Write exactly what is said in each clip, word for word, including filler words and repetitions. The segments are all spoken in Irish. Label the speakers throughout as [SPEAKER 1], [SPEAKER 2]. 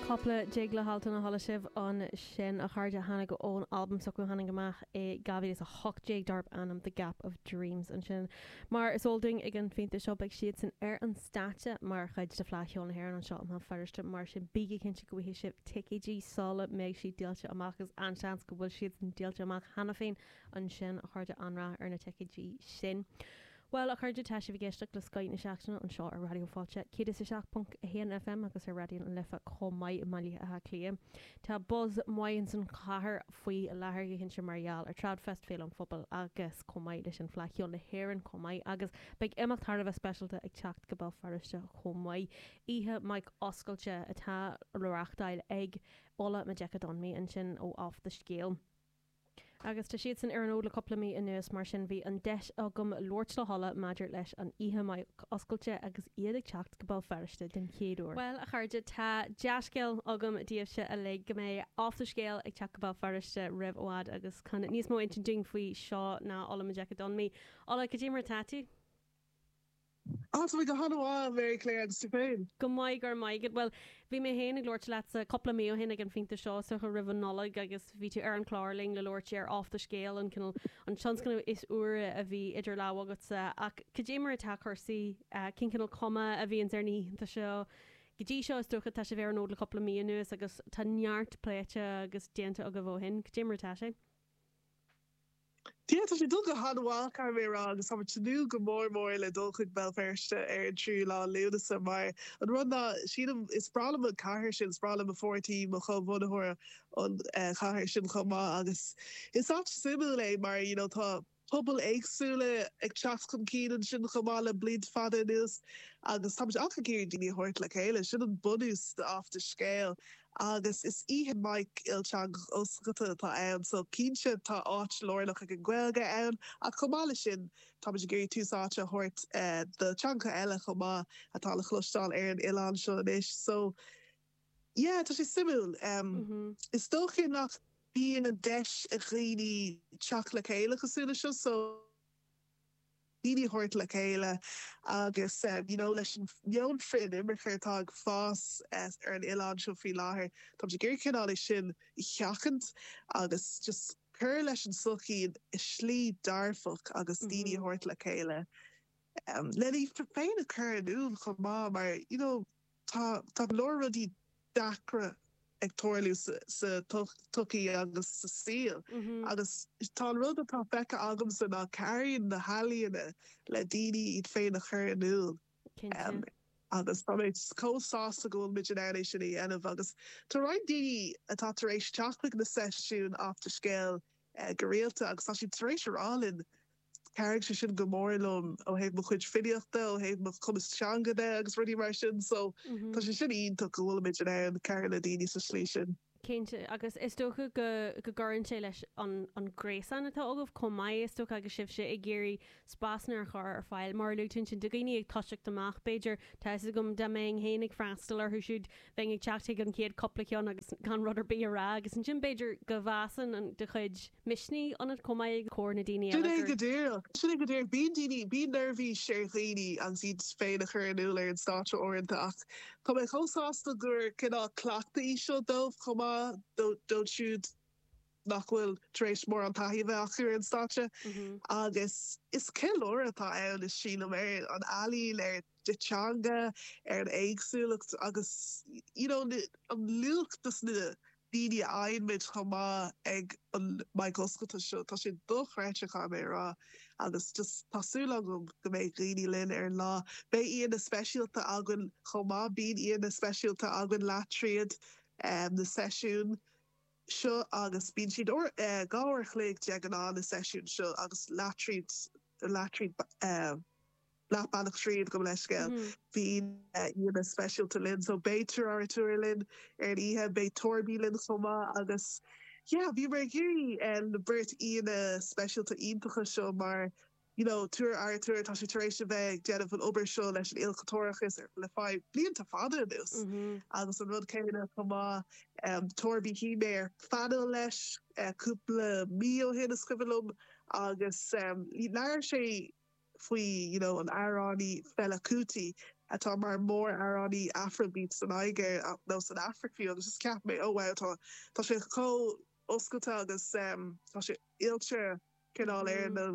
[SPEAKER 1] Cúpla Jig le hAltan a chuala sibh ansin, a chairde, tháinig ón albam s'acu tháinig amach i dhá mhíle is a hocht déag darb ainm The Gap of Dreams ansin. Mar is eol dúinn ag an phointe seo, beidh siadsan ar an stáitse mar chuid de Fleadh Cheoil na hÉireann anseo i mBéal Feirste, mar sin bígí cinnte go bhfaighidh sibh ticéidí sula mbeidh siad díolta amach, agus an-seans go bhfuil siad díolta amach cheana féin ansin, a chairde, an-rath ar na ticéidí sin. Well, a chairde, tá sibh ag éisteacht le Scoth na Seachtaine anseo ar Raidió Fáilte céad is a seacht ponc a haon F M agus ar Raidió na Life chomh maith i mBaile Átha Cliath. Tá buzz maith san chathair faoi láthair, go cinnte, mar gheall ar Tradfest, Féile an Phobail, agus chomh maith leis an Fleadh Cheoil na hÉireann chomh maith, agus beidh imeacht thar a bheith speisialta ag teacht go Béal Feirste chomh maith. Oíche Mic Oscailte atá le reáchtáil ag Ola Majekodunmi ansin ó Off the Scale. Agus tá siad san ar an fhód le cúpla mí anuas, mar sin bhí an deis agam labhairt le hOla maidir leis an oíche mic oscailte agus iad ag teacht go Béal Feirste den chéad uair. Well, a chairde, tá dea-scéal agam daoibhse uilig go mbeidh Off the Scale ag teacht go Béal Feirste roimh i bhfad, agus chun níos mó insint dúinn faoi seo ná Ola Majekodunmi. Ola, cad é mar atá tú?
[SPEAKER 2] Á, tá go han-mhaith, Mary Claire, agus tú féin?
[SPEAKER 1] Go maith, go maith. Well, bhí mé féin ag labhairt leatsa cúpla mí ó shin ag an phointe seo so roimh an Nollaig, agus bhí tú ar an chlár linn le labhairt ar Off the Scale, an cineál an tionscnamh is úire a bhí idir lámha agatsa, ach cad é mar atá cúrsaí, cén cineál cuma a bhíonns ar na hoícheanta seo go dtí seo? Is dócha tá sibh ar an fhód le cúpla mí anuas agus tá neart pléite agus déanta agaibh ó shin. Cad é mar atá sé?
[SPEAKER 2] Yeah, tá sé dul go han-mhaith, caithfidh mé a rá, agus táimid ag tnúth go mór mór le dul chuig Béal Feirste ar an tríú lá Lúnasa, mar an rud ná sílim is breá liom an cathair sin, is breá liom mo pháirtí, mo chomhbhunaitheoir, an chathair sin chomh maith, agus is áit suimiúil é mar you know tá pobail éagsúla ag teacht chun cinn ansin chomh maith le blianta fada anuas, agus táimid ach ag iarraidh daoine a thabhairt le chéile. Sin an bunús de Off the Scale, agus is oíche mic ilteangach oscailte atá ann, so cinnte tá áit lárnach ag an Ghaeilge ann, ach chomh maith leis sin táimid ag iarraidh tús áite a thabhairt do teangacha eile chomh maith atá le cloisteáil ar an oileán seo anois. So yeah, tá sé suimiúil. Um, is dócha nach bíonn an deis ag dhaoine teacht le chéile cosúil le seo, so daoine a thabhairt le chéile agus um, you know, leis an meon frith-inimirce atá ag fás uh, ar an oileán seo faoi láthair, tá ag iarraidh cineál é sin a sheachaint agus just cur leis an sochaí i slí dearfach agus daoine a thabhairt le chéile. Um, le iad féin a chur in iúl chomh maith, mar you know, tá tá leor rudaí deacra ag tarlú sa, sa tsochaí agus sa saol. Agus tá an rud atá feicthe agamsa ná cabhraíonn na healaíona le daoine iad féin a chur in iúl. Um, agus tá mé chomh sásta go bhfuil muid in ann é sin a dhéanamh, agus tá roinnt daoine atá tar éis teacht chuig na seisiúin Off the Scale uh, go rialta, agus tá siad tar éis a rá linn, "Chabhraigh sé sin go mór liom ó thaobh mo chuid filíochta, ó thaobh mo chumas teanga de," agus rudaí mar sin, so tá sé sin iontach go bhfuil muid in ann cabhrú le daoine sa slí sin.
[SPEAKER 1] Cinnte, agus is dócha go go gcuireann sé leis an an gréasán atá agaibh chomh maith, is dócha, agus sibhse ag iarraidh spásanna a chur ar fáil mar a luaigh tú sin do dhaoine ag toiseacht amach. B'fhéidir, tá a fhios agam dá mbeinn féin ag freastal orthu siúd, bheinn ag teacht chuig an chéad cúpla ceann agus gan rud ar bith a rá, agus ansin b'fhéidir go bhfásann an do chuid misnigh ionat chomh maith ag comhair na daoine
[SPEAKER 2] Sin é go díreach, sin é go díreach. Bíonn daoine, bíonn neirbhís ar dhaoine agus iad féin a chur in iúl ar an stáitse uaireanta, ach tá mé chomh sásta gur cineál cleachtadh í seo dóibh chomh maith, dóibh siúd nach bhfuil tar éis mórán taithí a bheith acu ar an stáitse, agus is ceiliúradh atá ann is sílim ar an ealaín, ar an teanga, ar an éagsúlacht agus you know, an luach dos na daoine a fhaigheann muid chomh maith ag an mic oscailte seo. Tá sé dochreidte, caithfidh mé a rá, agus just tá súil agam go mbeidh daoine linn ar an lá. Beidh aíonna speisialta againn chomh maith. Bíonn aíonna speisialta againn leath tríd um, na seisiún seo, agus bíonn siad uh, dhá uair a chloig de ghnáth, na seisiún seo, agus leath tríd leath tríd uh, leath bealach tríd go leiscéil bhí aíonna speisialta linn, so beidh Tuar linn ar an oíche, beidh Torby linn chomh maith, agus yeah, bhí mar géirí na beirt aíonna speisialta iontacha seo, mar you know Tuar Artúr, tá sé tar éis a bheith ag déanamh an obair seo leis an ilchultúrachas le feadh blianta fada anuas, agus an rud céanna chomh maith um, Torby, bhí mé ar phainéal leis uh, cúpla mí ó shin, is cuimhin liom, agus um, labhair sé faoi you know, an amhránaí Fela Kuti. atá mar mór-amhránaí Afrobeat san Nigéir nó san Afraic fiú agus just cheap mé oh wow tá tá sé chomh oscailte agus um, tá sé oilte cineál ar na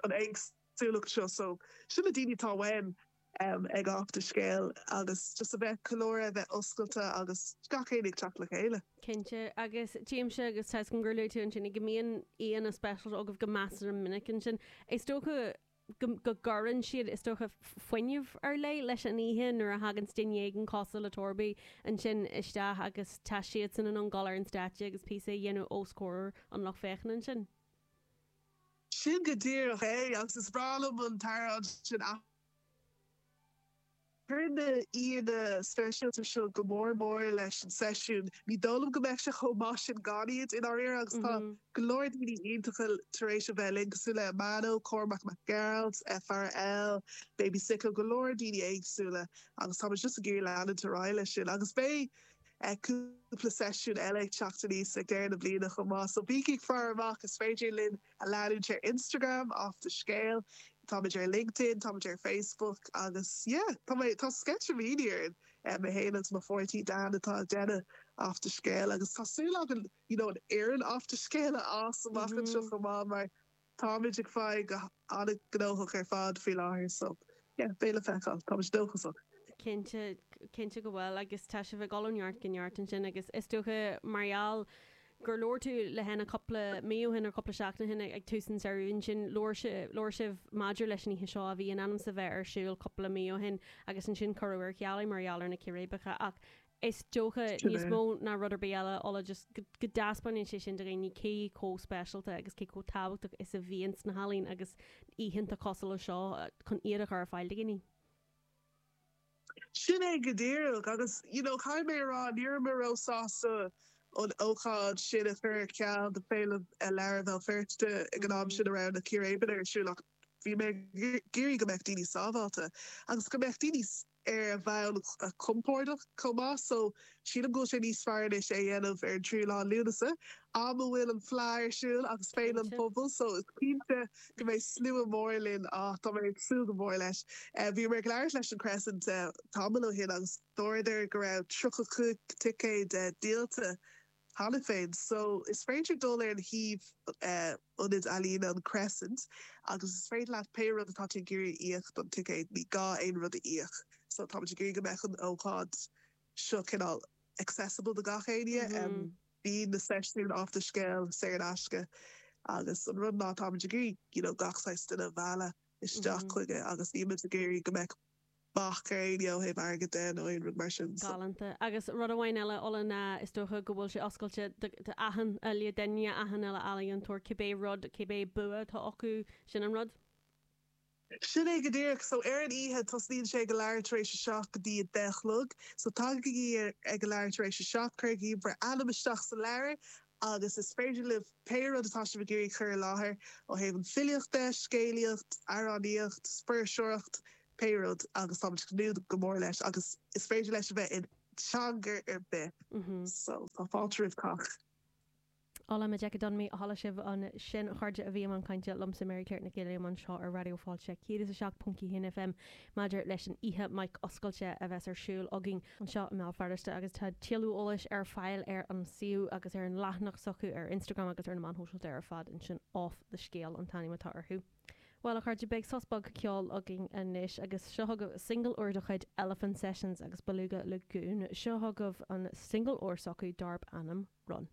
[SPEAKER 2] an éagsúlacht seo so sin na daoine atá uainn um, ag Off the Scéal agus just a bheith colóir a bheith oscailte agus gach éinne ag teacht le chéile.
[SPEAKER 1] Cinnte agus tímse agus tá gur luaigh tú ansin go mbíonn aíonna speisialta agaibh go measartha minic ansin. Is dócha go go gcuireann siad is dócha fuinneamh ar leith leis an oíche nuair a thagann duine éigin cosúil le Torby ansin isteach agus tá siad san an gal ar an stáitse agus píosa a dhéanamh os comhair an lucht féachana ansin.
[SPEAKER 2] Sin go díreach é agus is breá liom an t-amhrán sin Cuireann na haíonna speisialta seo go mór mór leis an seisiún. Ní dóigh liom go mbeadh sé chomh maith sin gan iad in áirithe agus tá go leor daoine iontacha tar éis a bheith linn cosúil le Mano, Cormac Mac Gearailt, FRL, Baby Sicko, go leor daoine éagsúla agus tá just ag iarraidh leanúint ar aghaidh leis sin agus beidh cúpla seisiún eile ag teacht aníos ag deireadh na bliana chomh maith. So bígí ag faire amach is féidir linn a leanúint ar Instagram off the scale. Táimid ar LinkedIn, táimid ar Facebook agus yeah, tá mé tá sceitimíní ar mé féin agus mo pháirtí Dan atá ag déanamh off the scale agus tá súil againn you know, an fhoireann off the scale a fhás amach anseo chomh maith mar táimid ag fáil go an-ghnóthach ar fad faoi láthair so yeah, beidh le feiceáil, táimid dóchasach.
[SPEAKER 1] Cinnte cinnte go bhfuil agus tá sibh ag dul ó neart go neart ansin agus is dócha mar gheall gur labhair tú le hena cúpla mí ó shin ar cúpla seachtain ó shin ag tús an samhradh sin labhair sibh maidir leis an oíche seo a bhí in ainm is a bheith ar siúl cúpla mí ó shin agus ansin cuireadh ar ceal mar gheall ar na círéibeacha ach is dócha níos mó ná rud ar bith eile Ola just go dtaispeánann sé sin do dhaoine cé chomh speisialta agus cé chomh tábhachtach is a bhíonn sna healaíona agus oícheanta cosúil le seo chun iad a chur ar fáil do dhaoine.
[SPEAKER 2] Sin é go díreach agus you know, caithfidh mé rá ní raibh mé róshásta an ócáid sin a chur ar ceal do Féile Leabhar Bhéal Feirste ag an am sin a raibh na círéibeanna ar siúl ach bhí mé ag iarraidh go mbeadh daoine sábháilte agus go mbeadh daoine ar a bhonn compordach chomh maith so sílim go bhfuil sé níos fearr anois é a dhéanamh ar an tríú lá Lúnasa am a bhfuil an Fleadh ar siúl agus Féile an
[SPEAKER 1] Cinnte.
[SPEAKER 2] Phobail so is cinnte go mbeidh slua mór linn á tá mé ag súil go mór leis. Uh, bhí mé ag labhairt leis an Crescent uh, tamall ó shin agus dúradar go raibh tríocha cúig ticéad uh, díolta cheana féin, so is féidir dul ar an shuíomh uh, ionad ealaíon an Crescent agus is féidir leat pé rud atá tú ag iarraidh íoc don ticéad ní gá aon rud a íoc. So tá ag iarraidh go mbeadh an ócáid seo cineál accessible do gach éinne mm -hmm. um, bhí na seisiúin off the scale saor in aisce agus an rud ná tá ag iarraidh you know, gach saghas duine a mhealladh isteach mm -hmm. chuige agus nílimid ag iarraidh go mbeadh bac ar éinne ó thaobh airgead de nó aon rud mar sin. So.
[SPEAKER 1] Galánta. Agus rud amháin eile Ola ná is dócha go bhfuil sé oscailte d'achan uile duine achan uile ealaíontóir cibé rud cibé bua atá acu sin an rud.
[SPEAKER 2] Sin é go díreach so ar an oíche tosnaíonn sé go leathuair tar éis a seacht go dtí a deich a chlog, so tagaigí ag go leathuair tar éis a seacht cuirigí bhur ainm isteach sa leabhar agus is féidir libh pé rud atá sibh ag iarraidh chur i láthair ó thaobh an filíocht de, scéalaíocht, amhránaíocht, fuirseoireacht, pé rud agus tá tnúth go mór leis agus is féidir leis a bheith in teanga ar bith.
[SPEAKER 1] Mm -hmm.
[SPEAKER 2] So tá fáilte roimh cách.
[SPEAKER 1] Ola Majekodunmi a chuala sibh ansin a chairde a bhí i mbun cainte liomsa Mary Claire Nic Giolla anseo ar Raidió Fáilte céad is a seacht ponc a haon FM maidir leis an oíche Mic Oscailte a bheas ar siúl againn anseo i mBéal Feirste agus tá tuilleadh eolais ar fáil ar an suíomh agus ar an leathanach s'acu ar Instagram agus ar na meáin shóisialta ar fad ansin off the scale an t-ainm atá orthu. Well a chairde beidh sos beag ceoil againn anois agus seo chugaibh single úr de chuid Elephant Sessions agus Beluga Lagoon seo chugaibh an single úr s'acu darb ainm Run.